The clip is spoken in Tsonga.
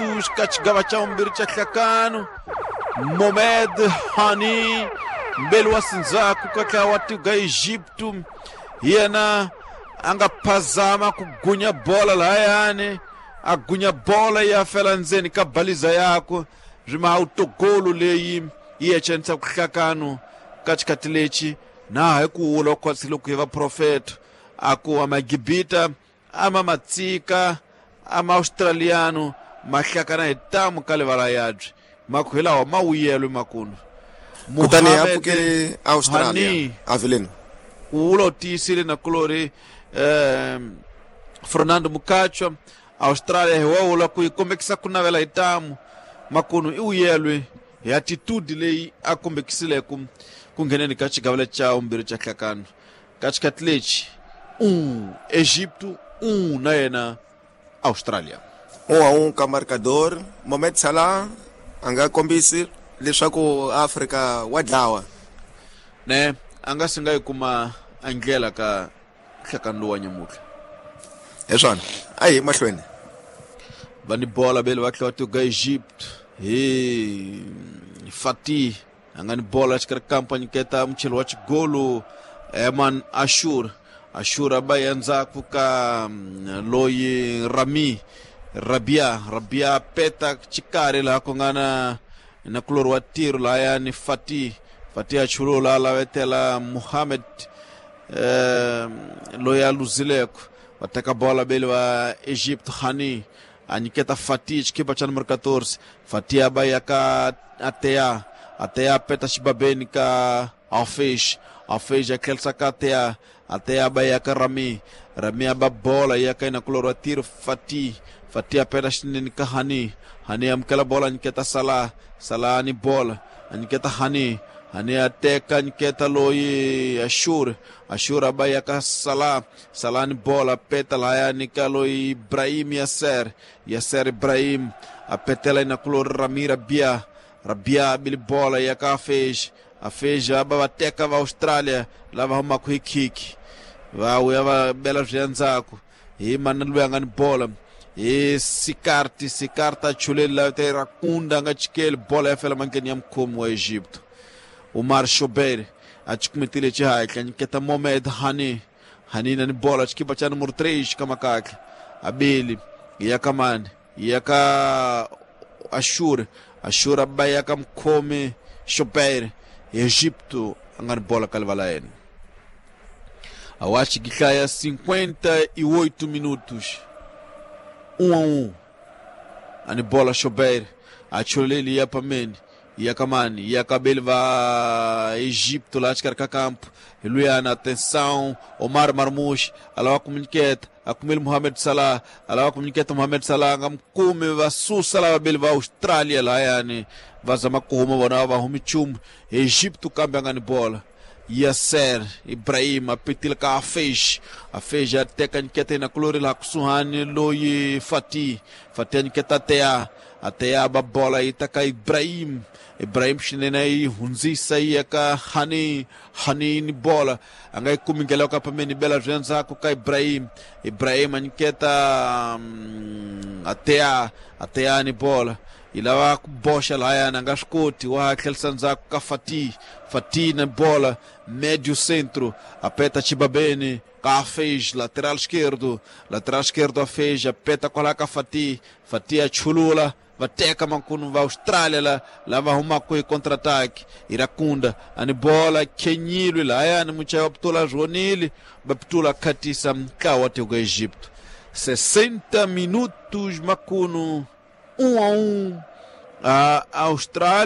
minutos ka xigava xa vumbirhi xa nhlakano. Mohamed Hani mbeli wa Sinzaku ka ntlawa wa tiko ga Egipto hi yena a nga phazama ku gunya bola lahayani, a gunya bola ya fela ndzeni ka baliza yakwe swi ma autogolo leyi yi ecenisa ku hlakano ka xikhathi lexi na hi ku wula khwatsi loko hi vaprofeta a ku amagibita ama matsika ama australiano ma hlakana hi tamu ka livala yabye maku hi lawa ma wuyelwe makunu. Kutani a pfukele Australia avileni ku wula u tiyisile na kulori Fernando Mukachwa Australia hi wawula ku yi kombekisa ku navela hi tamu makunu i wuyelwe hi attitude leyi a kombekisileko ku ngheneni ka xigavelo xa vumbirhi xa nhlakano ka xikhathi lexi Egipto na yena Australia. 1-1 ka marcador. Mohamed Salah a nga kombisi leswaku Afrika wa dlawa. Ne a nga si nga yi kuma a ndlela ka nhlakano lowu wa nyamutlha. Hi swona, a hi mahlweni. Va ni bola bele va tlhela va tiko Egypt hi Fatih a nga ni bola xikarhi kampo a nyiketa mucheli wa xigolo Eman Ashur. Ashur a ba ya ndzhaku ka loyi Rami Rabia. Rabia peta xikarhi laha ku nga na na kulori wa tiro lahaya ni Fatih. Fatih a chulula a lavetela Mohamed loyi a luzileko. Va teka bola bele va Egypt Hani a nyiketa Fatih xikipa xa numero 14. Fatih a ba ya ka Atea. Atea peta xibabeni ka Alfez. Alfez a tlherisa ka Atea. Atea ba ya ka Rami. Rami a ba bola ya ka inakulori wa tiro Fatih. Fatih a peta xinene ka Hani. Hani amukela bola a nyiketa Salah. Salah ni bola a nyiketa Hani. Hani a teka nyiketa loyi Ashur. Ashur a ba ya ka Salah. Salah ni bola peta lahaya nyika loyi Ibrahim Yasser. Yasser Ibrahim a petela inakulori Rami Rabia. Rabia abili bola ya ka Afej. Afej aba va teka va Australia lava humaka hi khiki va vuya va bela swi ya ndzhaku hi mana loyi a nga ni bola hi Sikarti. Sikarti a chuleli la te Rakunda a nga chikeli bola ya fela mandleni ya mukhomi wa Egipto. Umar Shobeir a chikumetile xihatla nyiketa Mohamed Hani. Hani na ni bola xikipa xa numero 3 ka makatla abili ya ka mani ya ka Ashur. Ashur a ba ya ka mukhomi Shobeir Egipto a nga ni bola ka livala yena. Awachi gihlaya 58 minutos 1-1 ani bola Shobeir a chuleli ya pameni ya kamani ya kabeli va Egipto lá xikarhi ka campo luyana atenção Omar Marmoush alava kumunyiketa akumile Mohamed Salah alava kumunyiketa Mohamed Salah nga mukumi va susa lava beli va Australia lahayani va zama ku huma vona va humi nchumu. Egipto kambe a nga ni bola Yasser Ibrahim a petile ka Afej. Afej a teka nyiketa ina kulori laha kusuhani loyi Fatih. Fatih a nyiketa Atea. Atea ba bola yi ta ka Ibrahim. Ibrahim xinene yi hundzisa yi ya ka Hani. Hani ni bola a nga yi kumi ndlela yo ka pameni bela swi endzhaku ka Ibrahim. Ibrahim a nyiketa Atea. Atea ni bola yi lava ku boxa lahayani a nga swi koti wa tlherisa ndzhaku ka Fatih. Fatih na bola médio centro a peta xibabeni ka Afej lateral esquerdo. Lateral esquerdo Afej a peta kwala ka Fatih. Fatih a chulula va teka mankunu va Australia la lava humaka hi contra-ataque. Irakunda ani bola kenyilwe lahayani muchayi wa putula zwonile va putula khatisa ntlawa wa tiko Egipto. 60 minutos makunu 1-1 a Austrália.